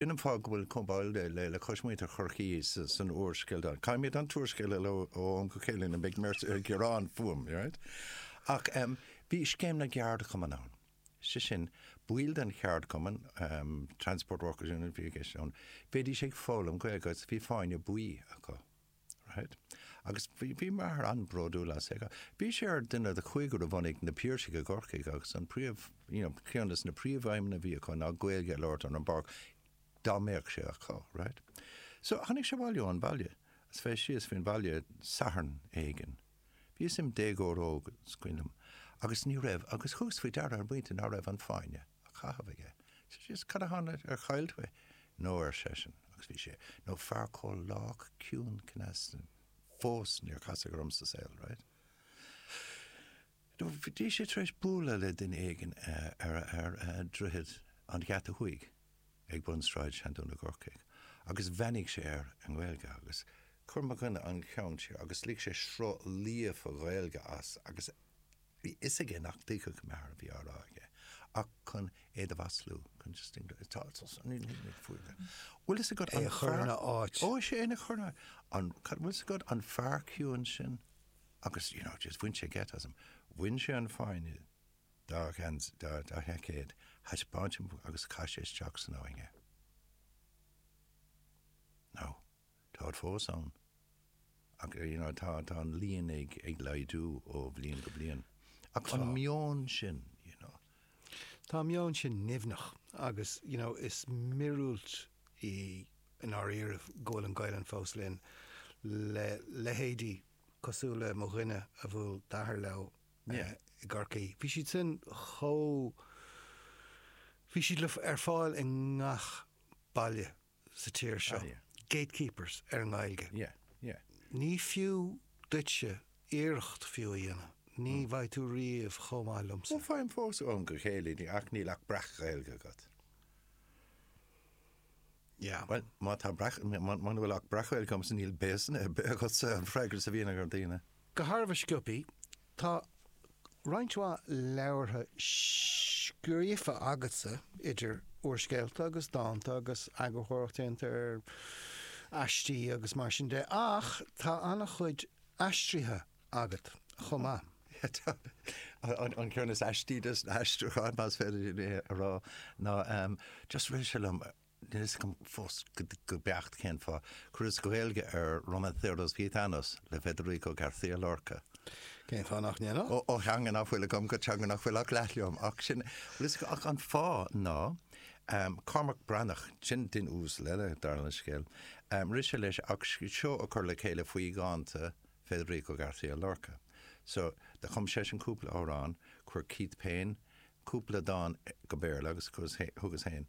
Sin an fáth go bhfuil chomh báúil le cois muintir Chorcaí san úrscéal. Caithfimid an t-úrscéal a léamh ó am go chéile nó beidh mé ag gearán fúm, right? Ach bhí scéim na gceardchumann ann. Sé sin, baill den cheardchumann, Transport Workers Union a bhí i gceist ann, bheidís ag foghlaim Gaeilge agus bhí fáinne buí acu. Right? Agus bhí, bhí m'athair an-bhródúil as é. Bhí sé ar duine de chúigear a bhunaigh Na Piarsaigh i gCorcaigh agus an príomh, you know, ceann des na príomhaidhmeanna a bhí acu ná Gaeilge a labhairt ar an bpáirc dá mbeadh sé acu, right? So, tháinig sé abhaile ón bhaile, is bheith síos faoin bhaile Satharn éigin. Bhíos im déagóir óg, is cuimhin liom, agus ní raibh, agus thugas faoi deara ar an bpointe ná raibh an fáinne á chaitheamh aige. So, síos, cad a tharla, ar chaill tú é? No, ar seisean, agus bhí sé, nó fear chomh lách ciúin cneasta fós níor casadh orm sa saol, right? No, bhí sé tar éis bualadh le duine éigin ar, ar Droichead an Gheata Thuaidh ag bun Sráid Seandún i gCorcaigh agus bheannaigh sé air i nGaeilge agus chuir mo dhuine an ceann siar agus lig sé sruth líofa Ghaeilge as agus Bhí fhios aige nach dtuigfeadh m'athair a bhí á rá aige, ach chun é do mhaslú, chun just tá Bhfuil fhios agat an É a chur ina áit. Ó, is é ina chur ina an bhfuil fhios agat an fear ciúin sin agus, you know, just bhain sé geit asam. Bhain sé an fáinne dá dá dá sheaicéad, thaispeáin sé agus chaith sé isteach san abhainn é. Now, Táid fós ann. Ach, you know, tá, tá an líon ag, ag laghdú ó bhliain go bliain. Ach an meon sin, you know. Tá an meon sin nimhneach agus, you know, is míorúilt í i ndáiríribh go bhfuil an Ghaelainn fós linn le leithéidí cosúil le mo dhuine a bhuail d'athair leo i gCorcaigh. Bhí siad sin chomh, bhí siad le, ar fáil i ngach baile. sa tír seo, gatekeepers ar an nGaeilge. Ní fiú duitse iarracht fiú a dhéanamh, ní bheidh tú riamh chomh maith liomsa. Ó, faighim fós ó am go chéile í, ach níl ach breac-Ghaeilge agat. Yeah. Bhuel, má tá breac, muna bhfuil ach breac-Ghaeilge agamsa níl béasanna ar bith agatsa, an freagra a bhíonn ag daoine. Go thairbhe sciobthaí, tá roinnt mhaith leabhartha scríofa agatsa, idir úrscéalta agus dánta agus eagarthóireacht déanta ar aistí agus mar sin de, ach tá an-chuid aistrithe agat chomh maith. Tá. An ceann is aistí des na haistriúcháin, más féidir é a rá, ná just rith sé liom, Níl fhios agam fós go beacht cén fáth. Chuireas Gaeilge ar Romanceros Gitanos le Federico García Lorca. Cén fáth nach ndéanfá? Ó theanga nach bhfuil agam go teanga nach bhfuil ach leath liom. Ach sin, bhfuil fhios agat, ach an fáth ná, Cormac Breathnach, sin duine uasal eile, dar le scéal, rith sé leis ach seó a chur le chéile faoi dhánta Federico García Lorca. So, do chum seisean cúpla amhrán, chuir Keith Payne cúpla dán go Béarla agus thugas féin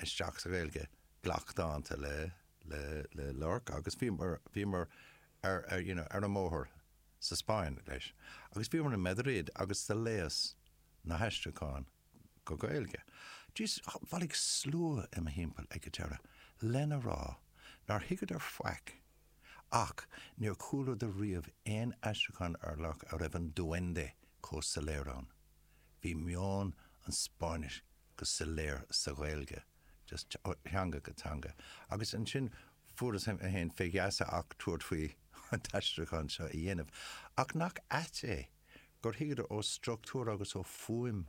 isteach sa Ghaeilge glacdhánta le le Lorca agus bhíomar bhíomar ar ar you know ar an mbóthar sa Spáinn leis agus bhíomar i Madrid agus do léas na haistriúcháin go Gaeilge. Jeez, bhailigh slua i mo thimpeall ag an deireadh lena rá nár thuigeadar faic ach níor chualadar riamh aon aistriúchán ar Lorca a raibh an duende chomh soiléir ann. Bhí meon an Spáinnis go soiléir sa Ghaeilge, just ó theanga go teanga. Agus ansin fuaireas mé féin fé gheasa ach tabhairt faoi an t-aistriúchán seo a dhéanamh. Ach nach ait é gur thuigeadar ó struchtúr agus ó fuaim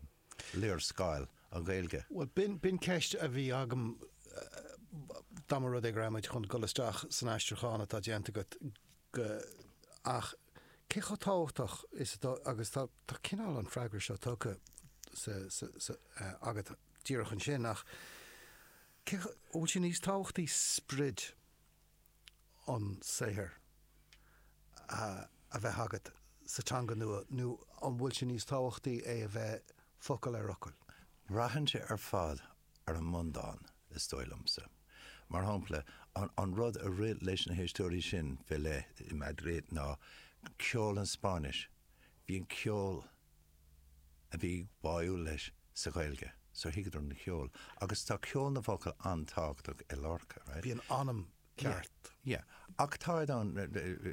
léarscáil an Ghaeilge. Bhuel, b'in, b'in ceist a bhí agam dá mba rud é go raibh muid chun dul isteach san aistriúchán atá déanta agat go, ach cé chomh tábhachtach is atá, agus tá, tá cineál an freagra seo tugtha sa, sa, sa, agat díreach ansin, ach cé chomh, an bhfuil sé níos tábhachtaí sprid an saothair a, a bheith agat sa teanga nua nó an bhfuil sé níos tábhachtaí é a bheith focal ar fhocal? Braitheann sé ar fad ar an mbundán, is dóigh liomsa. Mar shampla, an rud a rith leis na héisteoirí sin fé leith i Madrid ná ceol an Spáinnis. Bhí an ceol a bhí báúil leis sa Ghaeilge, so thuigeadar an ceol. Agus tá ceol na bhfocal an-tábhachtach i Lorca, right? Bhí an anam ceart. Yeah. Ach táid ann,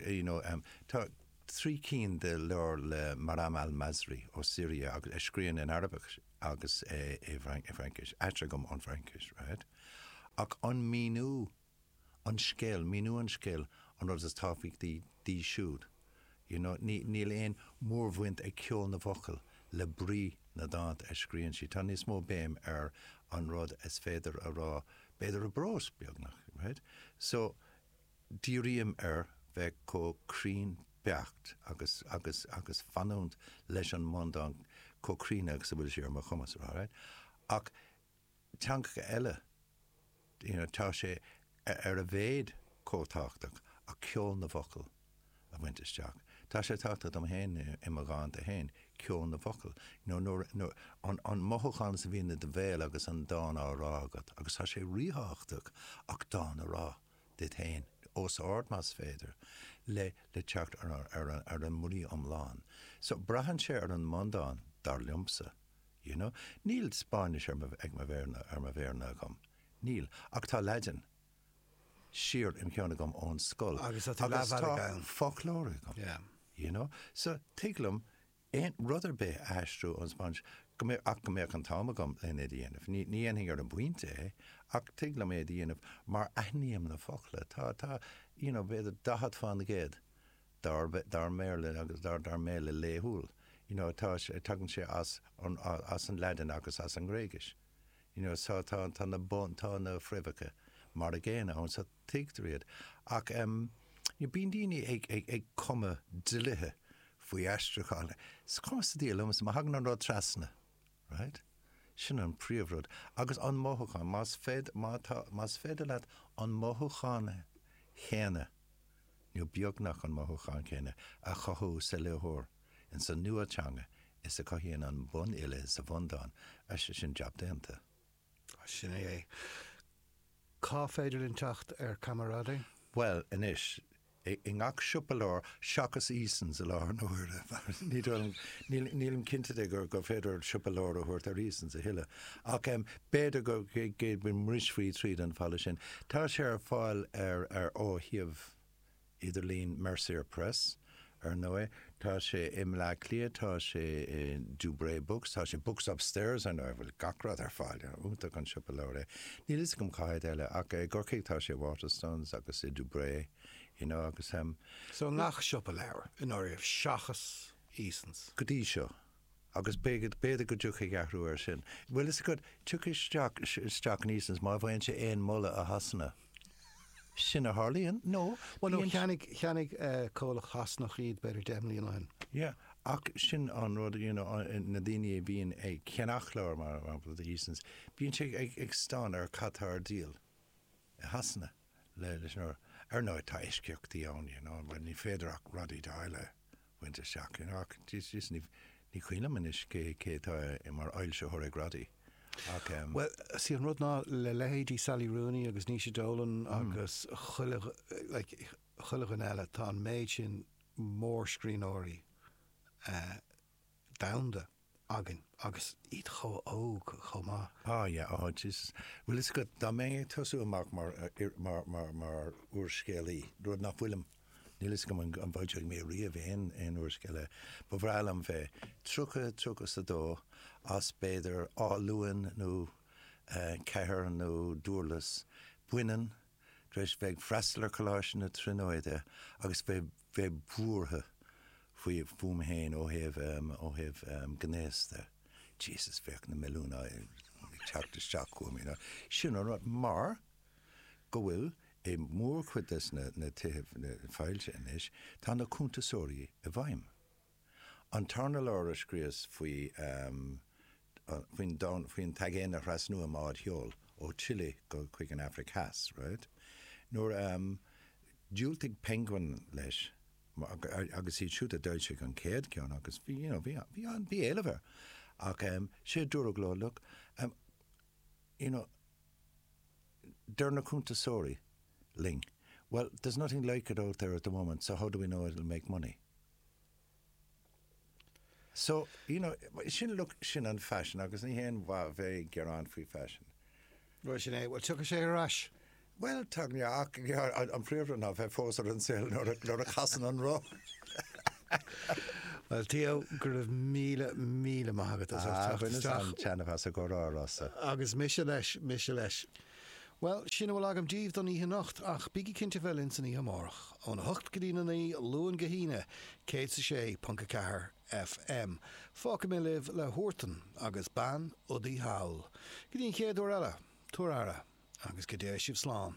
you know, tá trí cinn de leabhair le Maram Al-Masri ó Siria agus a scríobhann in Araibis agus i bhFraincis, aistrithe agam ón bhFraincis, right? Ach an míniú, an scéal, míniú an scéil an rud is tábhachtaí di siúd. You know, ní, níl aon mhórbhaint ag ceol na bhfocal le brí na dánta a scríonn sí. Tá níos mó béim ar an rud is féidir a rá, b'fhéidir i bprós, beagnach, right? So, dírím ar bheith chomh cruinn beacht agus, agus, agus fanúint leis an mbundán chomh cruinn agus a bhfuil sé ar mo chumas a rá, right? Ach teangacha eile, you know, tá sé ar a mhéad chomh tábhachtach ach ceol na bhfocal a bhaint isteach. Tá sé tábhachtach dom féin i mo dhánta féin, ceol na bhfocal. You know, nuair, nuair, an, an mothúchán is a bhíonn i do bhéal agus an dán á rá agat, agus tá sé ríthábhachtach ach dán a rá duit féin, os ard más féidir, le, le teacht ar, ar, ar, ar an mbrí iomlán. So, braitheann sé ar an mbundán, dar liomsa. You know? Níl Spáinnis ar mo, ag mo mhéar, ar mo mhéarna agam. Níl. Ach tá Laidin siar im cheann agam ón scoil. Agus tá tú leathbhealaigh ann. foclóir agam. Yeah. You know? So, tig liom aon rud ar bith a aistriú ón Spáinnis, go mbeadh, ach go mbeadh an t-am agam len é a dhéanamh. Ní, ní dhéanfainn ar an bpointe é, ach tig liom é a dhéanamh mar aithním na focla. Tá, tá, you know, b'fhéidir 40 fán gcéad dár, dár mBéarla agus dár, dár mBéarla laethúil. You know, tá sé, tagann sé as an, as an Laidin agus as an nGréigis. You know, so tá, tá na bun, tá na fréamhacha mar a gcéanna ann, so tuigtear iad. Ach em, you know, bíonn daoine ag, ag, ag cumadh dlíthe faoi aistriúchán. Is cuma sa diabhal liomsa, má thagann an rud trasna, right? Sin an príomhrud. Agus an mothúchán, más féidir, má tá, más féidir leat an mothúchán chéanna, nó beagnach an mothúchán céanna, a chothú sa léitheoir ins an nua-teanga is a chothaíonn an bunfhile sa bhundán, sin jab déanta. Sin é é. Cá féidir linn teacht ar Camarade? Bhuel, anois, i ngach siopa leabhar, seachas Easons i láthair na huaire, ní dóigh liom, nílim cinnte de gur féidir siopa leabhar a thabhairt ar Easons a thuilleadh. Ach b'fhéidir go mbrisfí tríd an bhfalla sin. Tá sé ar fáil ar ar ó shuíomh idirlín Mercier Press, ar ndóigh. Tá sé i mBleá Cliath, tá sé i Dubray Books, tá sé Books Upstairs, ar ndóigh, a bhfuil gach rud ar fáil. Iontach an siopa leabhar é. Níl fhios agam cá háit eile, ach i gCorcaigh tá sé i Waterstones agus i Dubray, you know, agus. So i ngach siopa leabhar, i ndáiríre, seachas Easons. Go dtí seo. Agus b'fhéidir go dtiocfaidh athrú air sin. Bhfuil fhios agat, tiocfaidh isteach, isteach in Easons má bhfaigheann sé aon moladh i Shasana. Sin a tharlaíonn, nó Bhuel, nó cheannaigh, cheannaigh comhlacht Shasanach iad b'fhéidir 10 mbliana ó shin. Yeah, ach sin an rud, you know, na daoine a bhíonn ag ceannach leabhar, mar shampla, do Easons, bíonn sé ag, ag stánadh ar cad tá ar díol i Shasana le, leis an, ar ndóigh tá eisceachtaí ann, you know, mar ní féidir ach rudaí áirithe. bhaint isteach. You know, ach Jesus, ní, ní cuimhin liom anois cé, cé atá mar fhoilsitheoir ag Roddy. Ach em. Bhuel, sí an rud ná le leithéidí Sally Rooney agus Naoise Dolan agus chuile, like, chuile dhuine eile, tá an méid sin mórscríbhneoirí eh, domhanda againn agus iad chomh óg chomh maith. Ah yeah, oh Jesus. Bhfuil fhios agat, dá mbeinn ag tosú amach mar, mar, mar, mar úrscéalaí, rud nach bhfuilim, níl fhios agam an, an bhfoilseoidh mé riamh aon, aon úrscéal eile, ba bhreá liom bheith 30, 32, as b'fhéidir Áth Luain nó eh, Ceathair nó Dúrlas, baineann, tar éis bheith ag freastal ar Choláiste na Tríonóide agus bheith, bheith buartha faoi, fúm féin ó thaobh, ó thaobh gnéas de. Jesus, bheadh na milliúin ag teacht isteach chugam, you know. Sin an rud, mar go bhfuil i mórchuid des na, na tithe foilsithe anois, tá na cuntasóirí i bhfeidhm. An tarna leabhar a scríos faoi, faoin domhan, faoin t-aigéan a thrasnú i mbád sheoil ó Chile go chuig an Afraic Theas, right? Nuair a dhiúltaigh Penguin leis, agus iad siúd a d'fhoilsigh an chéad cheann agus bhí, you know, bhí, bhí an, bhí éileamh air. Ach sé a dúradh leo, look, you know, deir na cuntasóirí linn, well, there's nothing like it out there at the moment, so how do we know it'll make money? So, you know, sin, look, sin an faisean agus ní haon mhaith bheith ag gearán faoi faisean. Bhuel, sin é. Bhuel, tiocfaidh sé ar ais. Bhuel, tagann, yeah, ach, yeah, an príomhrud ná bheith fós ar an saol nuair a, nuair a chasann an roth. Bhuel, Theo, go raibh míle, míle maith agat as ucht teacht isteach. Ah, bhaineas an-taitneamh as an gcomhrá, a Rossa. Agus mise leis, mise leis. Bhuel, sin a bhfuil agam daoibh don oíche anocht, ach bígí cinnte bheith linn san oíche amárach, óna hocht go dtí a 9, Luan go hAoine, 106.4 FM. Fágfaidh mé libh le Huartan agus Bean Udaí Thall. Go dtí an chéad uair eile, tabhair aire, agus go dté sibh slán.